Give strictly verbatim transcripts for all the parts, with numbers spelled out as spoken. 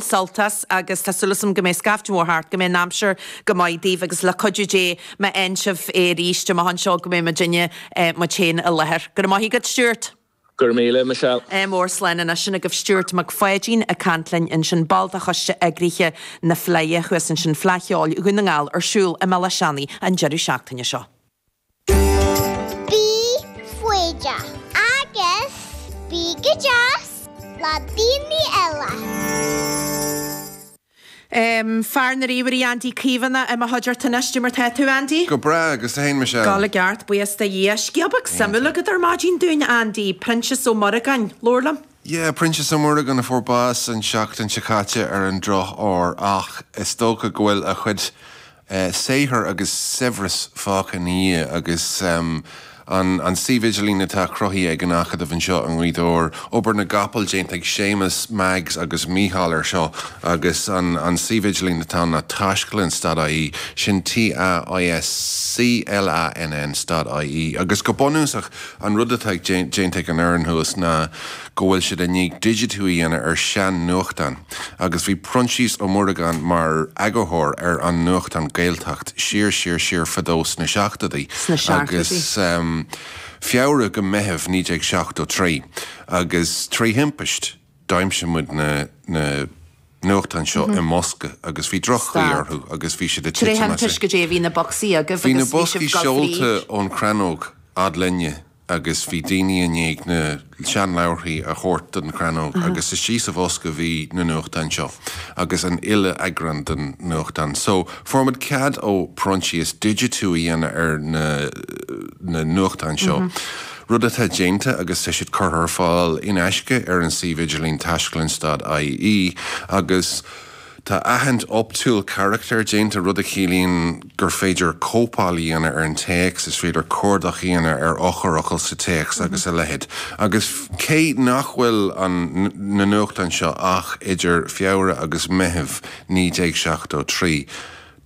Sult as agus tá súil agam go mbeidh scaifte mór thart, go mbeidh an aimsir go maith daoibh agus le cuidiú Dé má fhaigheann sibh é arís amach anseo go mbeidh muidinne muid féin i láthair. Go raibh maith agat, Stuart. Go raibh míle, Michelle. Mór slán anois sin agaibh Stuart Mac Pháidín ag caint linn ansin, ball de choiste eagraithe na Fleidhe thuas ansin, Fleadh Cheoil Dhún na nGall ar siúl i mBealach Seanaidh an deireadh seachtaine seo. Bí foighdeach agus bí go deas le daoine eile. Um, fear na ríomhairí Andy Caomhánach i mo chuideachta anois, cad é mar tá tú, Andy? Go breá agus tú féin, Michelle. Gabháil i gceart, buíochas do Dhia. Scéal beag suimiúil agat ar maidin dúinn, Andy, Proinsias Ó Muireagáin, labhair liom. Yeah, Proinsias Ó Muireagáin a fuair bás an seachtain seo caite ar an drochuair ach is dócha go bhfuil a chuid eh, saothar agus saibhreas fágtha ina dhiaidh agus um, an, an suíomh idirlín atá cruthaithe ag an Acadamh anseo i nGaoth Dobhair, obair na gcapall déanta ag Séamus, Mags agus Mícheál ar seo agus an, an suíomh idirlín atá ná taisclann dot I E, sin T A I S C L A N N dot I E agus go bunúsach an rud atá déanta ag an fhoireann thuas ná go bhfuil siad i ndiaidh digitiú a dhéanamh ar sean nuachtán agus bhí Proinsias Ó Muireagáin mar eagarthóir ar an nuachtán Gaeltacht siar siar siar fadó sna seachtóidí Sna seachtóidí. agus um, Feabhra go Meitheamh naoi déag seachtó trí agus trí thimpist d'aimsigh muid na na nuachtáin seo i mbosca agus bhí droch-chaoi Stad. orthu agus bhí siad ag Tré titim as thimpist go dté bhí na bocsaí agaibh Bhí na agus bhí boscaí sibh ag dul seolta fríd. ón Chrannóg fhad linne agus bhí daoine i ndiaidh na seanleabharthaí a thabhairt don Chrannóg agus istigh sa bhosca bhí na nuachtáin seo agus an uile eagrán den nuachtán. So fuair muid cead ó Proinsias digitiú a dhéanamh ar na na nuachtáin seo. Rud atá déanta agus tá siad curtha ar fáil in aisce ar an suíomh idirlín taisclann dot I E agus tá aithint optúil carachtar déanta, rud a chiallaíonn gur féidir cóipeáil a dhéanamh ar an téacs, is féidir cuardach a dhéanamh ar eochairfhocail sa téacs agus a leithéid. Agus cé nach bhfuil an na nuachtáin seo ach idir Feabhra agus Meitheamh naoi déag seachtó trí,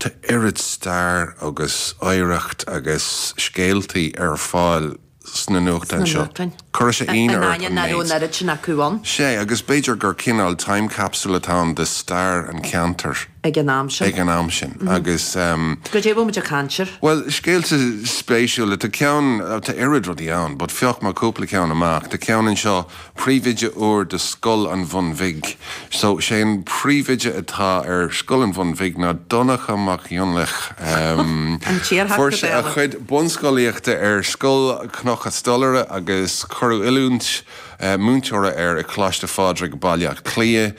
tá oiread stair agus oidhreacht agus scéaltaí ar fáil sna nuachtáin Sna seo. nuachtáin. Chuir sé An ionadh ort aine an nach raibh méid. an oiread sin acu ann Sé agus b'fhéidir gur cineál time capsule atá ann de stair an cheantair ag an am sin. Ag an am sin agus um, Go dté bhfuil muid ag caint air. Well, scéalta spéisiúla, tá ceann tá oiread rudaí ann, but phioc mé cúpla ceann amach. Tá ceann anseo príomhoide úr de Scoil an Bhun Bhig. So sé an príomhoide atá ar Scoil an Bhun Bhig ná Donncha Mac Fhionnlaoich. Um, An tíorthach Fuair sé a go chuid bunscolaíochta ar Scoil Chnoc an Stolaire agus cuireadh oiliúint uh, múinteora air i Coláiste Phádraig Baile Átha Cliath.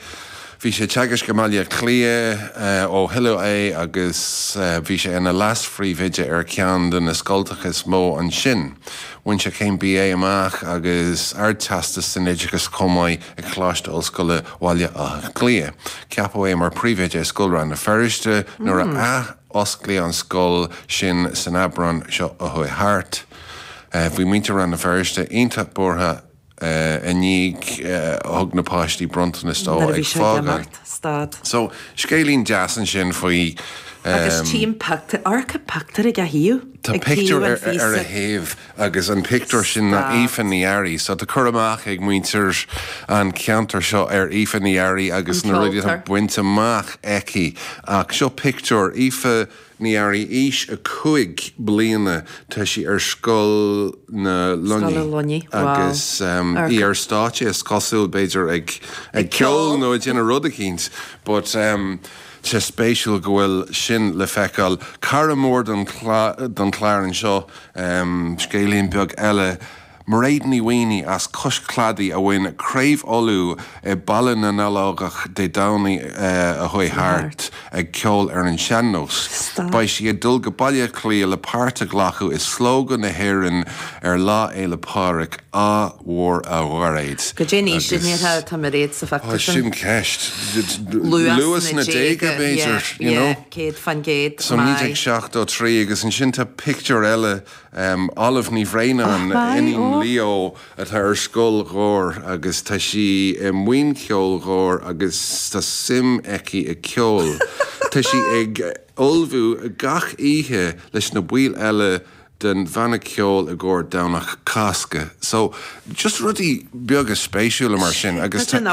Bhí sé teagasc i mBaile Átha Cliath uh, ó hoileadh é agus uh, bhí sé ina leas-phríomhoide ar ceann de na scoltacha is mó ansin. Bhain sé céim B A amach agus ardteastas san oideachas chomh maith ag Coláiste Ollscoile Bhaile Átha Cliath. Ceapadh é mar phríomhoide Scoil Rann na Feirste nuair a athosclaíodh an scoil sin san Aibreán seo a chuaigh thart. Uh, bhí muintir Rann na Feirste iontach buartha uh, i ndiaidh uh, thug na páistí bronntanas dó Nuair a bhí ag sé ag fágáil. imeacht, stad. So scéilín deas ansin faoi Agus um, tím pictiúr, amharc pictiúr ag a thaobh. Tá Ag pictiúr taobh an ar, ar a phíosa. thaobh agus an pictiúr sin ná Stad. Aoife Ní Fhearraigh, so tá cur amach ag muintir an ceantar seo ar Aoife Ní Fhearraigh agus An na rudaí atá ceoltóir. bainte amach aici ach seo pictiúr Aoife Ní Fhearraigh aois a cúig bliana, tá sí ar Scoil na Scoil na Luiní Luiní, wow. agus um, Ar- í ar stáitse is cosúil b'fhéidir ag ag ceol ceol. nó ag déanamh rud eicínt, but um, sé spéisiúil go bhfuil sin le feiceáil. Cara mór don don chlár anseo um, scéilín beag eile. Mairéad Ní Mhaonaigh as Cois Cladaigh a bhain Craobh Uladh i Baile na nOileánach Dé Domhnaigh uh, a chuaigh thart ag ceol ar an sean-nós. Stad. Beidh sí ag dul go Baile Átha Cliath le páirt a ghlacadh i Slógadh na hÉireann ar Lá Fhéile Pádraig á mhór a Mhairéad. Go dé ní sin Agus- tá Mairéad sa Ó, phictiúr sin. sin ceist. Luas na déaga b'fhéidir, you know. Céad faoin gcéad. So naoi déag seachtó trí agus ansin tá pictiúr eile um, Olive Ní Bhraonáin Oh, my, iníon oh. Leo atá ar Scoil Ghoirt agus tá sí i mbuíon ceoil Ghoirt agus tá suim aici i ceol. Tá sí ag ullmhú gach oíche leis na baill eile den bhanna ceoil i gcomhair Domhnach Cásca. So just rudaí beaga spéisiúla mar sin agus tá sin.